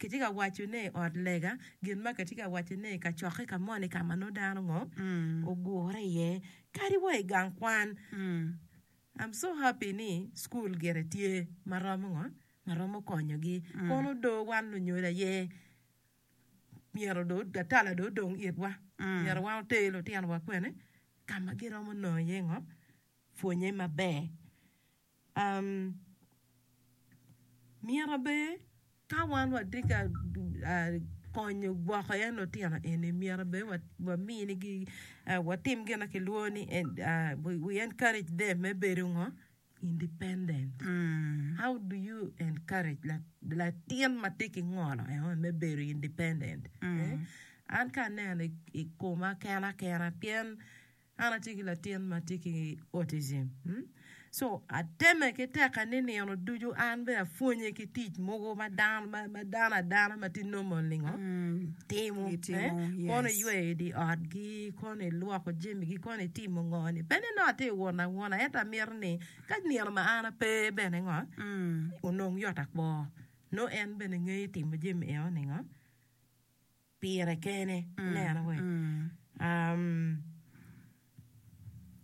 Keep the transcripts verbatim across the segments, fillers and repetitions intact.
kitye ka wacone i ot lega, gin ma kitye ka wacone i kacokke ka moni ka ma nongo dano ngo ogure iye, kadi wa i gang kwan. I'm so happy ni school gire tye ma romo ngo ma romo konyogi. Kono do wan lunyodo aye myero do atala do odong itwa, myero wan oter lutinowa kwene ka ma giromo nongo iye ngo pwonye maber. Um, myero bene ka wan watye ka uh, konyo gwoko en lutino eni myero bene waminigi uh, watim gin ma kilwongo ni uh, we, we encourage them me bedo ngo independent. How do you encourage latin ma tye ki ngolo eno me bedo independent? Eh? An ka aneno i koma kena kena pien an atye ki latin ma tye ki autism. Hmm? So ateme ki teka ni nino ducu an bene apwonye ki tic mogo ma dano ma dano adana ma tye normal ni ngo timo Gitimo, eh? yes. Kono iyweyo i di otgi, kono ilwoko jamigi, kono itimo ngo ni. Pe ni nongo atye won awona, ento amito ni ka nino ma an ape bene ngo onong yot akwo. Nongo en bene ngeyo timo jami eno ni ngo pire kene. Ineno we? Um,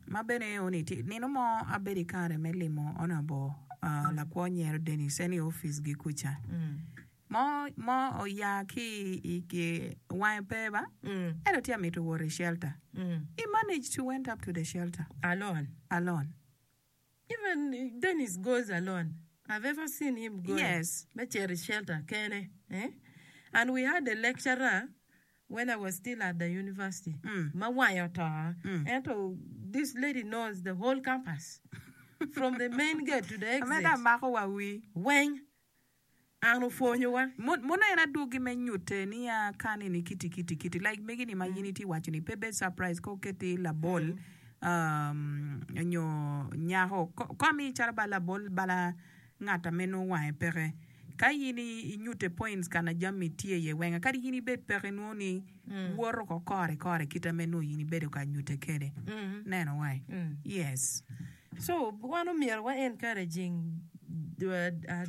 Ma bene oni ti nino mo abedo i kare me limo honorable uh, lakwo nyero Dennis en i office gi kuca. mm, Mo mo oya ki i ki wange pe ba mm, ento tye amito wot i shelter. mm. He managed to went up to the shelter Alone. alone. Even Dennis goes alone. I've ever seen him going. Yes. Me cito i shelter kene. Eh? And we had a lecturer when I was still at the university. Mm. Ma wange oto. Mm. Ento this lady knows the whole campus. From the main gate to the exit. Ameda mako wa wi. Weng. An opwonyowa. Muno en adwogi me nyute niya kani ni kiti kiti kiti like megi ni ma in itye waco ni pe bed surprise ka oketi labol um, nyo nyako ko ko ami calo ba labol bala ngat ame nongo wange peke ka in inyute points kana jami tye iye wenga kadi in ibed peke inwongo ni woto ko kore kore kite me nongo in ibedo ka nyute kede Mm. neno wai Mm. yes So wan omyero wa encouraging uh, uh,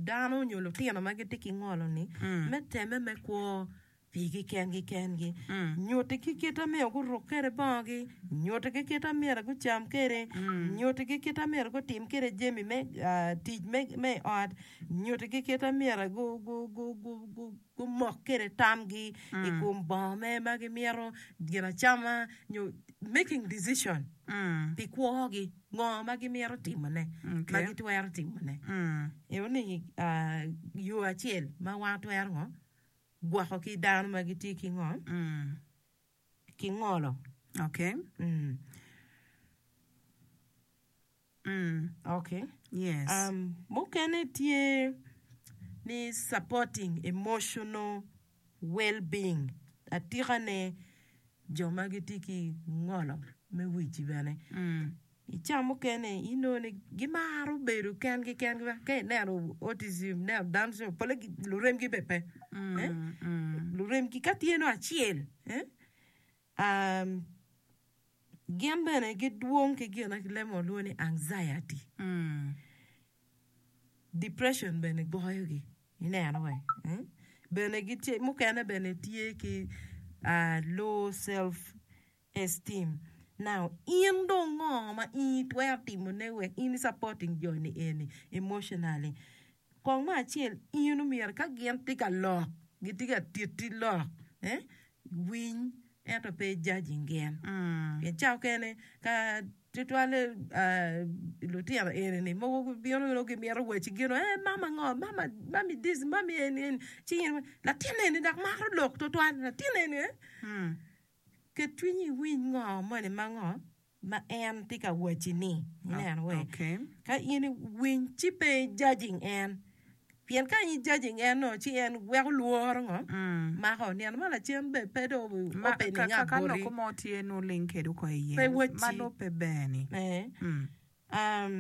dano nyo lutino ma gitye ki ngolo ni Mm. me teme me kwo pigi kengi kengi Mm. nyuti ki kit myero guruk kwede bongogi nyuti ki kit myero gucam kwede Mm. nyuti ki kit myero gutim kwede jami me uh, tic me, me ot nyuti ki kit myero gu, gu, gu, gu, gu, gumok kwede tamgi i Mm. kom bongo me ma gimito gin acama nyo making decision Mm. pi kwogi ngo ma gimito timone ma Okay. gitwero timone Mm. eno ni uh, yo acel ma wan twero ngo gwoko ki dano ma gitye ki ngo Mm. ki ngolo Okay. mm. Mm. okay Yes. um, mukene tye ni supporting emotional well-being atikane jo ma gitye ki ngolo me wic bene Mm. i ca mukene inongo ni gimaro bedo kengi kengi ka ineno autism ineno Down syndrome pole luremgi be pe eh? Mm. Mm. luremgi ka tye no acel eh? um, gin bene gidwong ki gin ma lemo lwongo ni anxiety Mm. depression bene goyogi ineno we eh? bene gitye mukene bene tye ki uh, low self esteem now in dong ngo ma in itwero timone wek in i supporting joni eni emotionally kong me acel in omyero ka gin tye ka lok gitye ka titi lok eh? winy ento pe judging gin Mm. pien ca okene ka tutwalle uh, lutino eni ni mogo bino nongo gimito waci gino eh mama ngo mama mami this mami eni eni ci in latin eni dok maro lok tutwal latin eni eh? Mm. ket cwinyi iwiny ngo moni ma ngo ma en tye ka waci ni ineno we Okay. ka in iwiny ci pe i judging en pien ka in judging en no ci en weko lworo ngo Mm. mako nino ma lacen be pe do Ma opening ka ka up ka boti loko mo tye no ling kedu ko iye pe waci ma no pe beni. eh. Mm. um,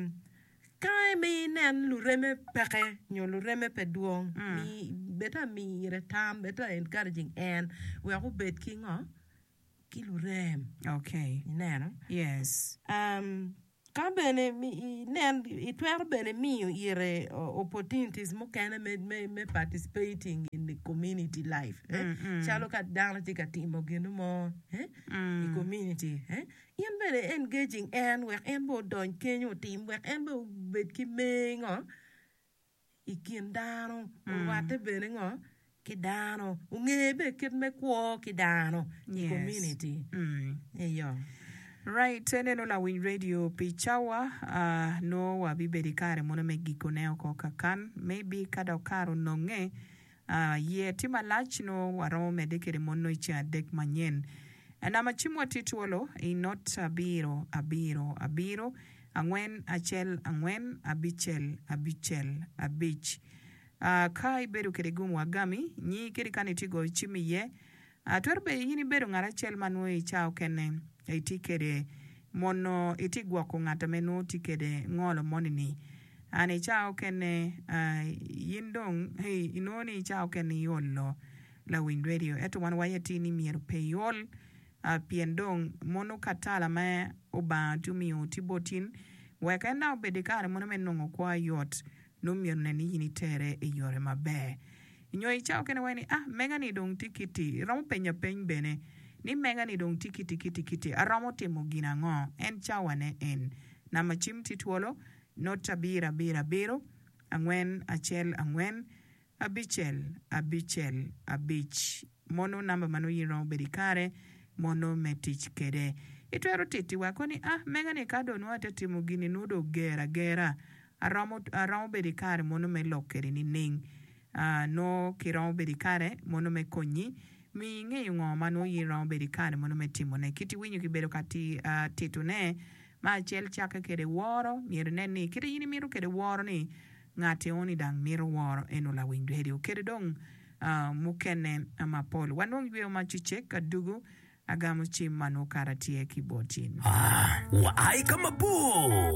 ka mi inen lureme peke nyo lureme pe dwong Mm. mi beta mire tam beta encouraging en wek obed ki ngo ki lurem Okay. ineno Yes. um, Ka bene inen itwero bene miyo ire opportunities mukene me me me participating in the community life calo ka dano tye ka timo gin mo i community in bene engaging en wek en bene odony kenyo otim wek en bene obed ki mer ngo i kin dano orwatte bene ngo ki dano onge bene kit me kwo ki dano i community eyo. Right, eneno lawiny radio pi cawa uh, nongo wabibedo i kare mono me gikone oko kakan maybe ka dok kare ononge uh, ye tye malac nongo waromo medde kede mono i ceng adek manyen. Namba cimwa tye twolo i not abiro abiro abiro angwen acel angwen abicel abicel abic. Uh, ka ibedo kede gum wagami nyi kede kani itye goyo cim iye Twero bedo in ibedo ngat acel ma nongo i cawa okene itye kwede mono itye gwoko ngat ame nongo tye kwede ngolo moni-ni. An i cawa okene in dong inongo ni i cawa okene iolo lawiny redio ento wan waye atir ni myero pe iol pien dong mono katala ma Obanga tye omiyo tye bot in wek en dok obed i kare mono me nongo kwo ayot nongo myero onen ni in itere i yore maber. Nyo i cawa okene waco ni, Ah, mega-ni dong tye kiti. Iromo penyo apeny bene ni, Mega-ni dong tye kiti kiti kiti, aromo timo gin ango? En cawane en. Namba cim tye twolo, not abiro abiro abiro, angwen acel angwen, abicel abicel abic. Mono namba ma nongo in iromo bedo i kare mono me tic kwede. Itwero titi weko ni, Ah, mega-ni ka dong nongo atye timo gin-ni nongo dong oger agera. Aromo, aromo bedo i kare mono me lok kwede nining? Nongo kiromo bedo i kare mono me konyi miyo ingeyo ngo ma nongo in iromo bedo i kare mono me timone. Kit iwinyo kibedo ka titone ma acel cakke kwede woro, myero inen ni kit in imito kwede woro ni ngat eoni dang mito woro eno lawiny radio kede dong mukene mapol. Wanong yweyo ma cucek adugu agamo cim ma nongo kara tye ki bot in. Waa i ka mabor.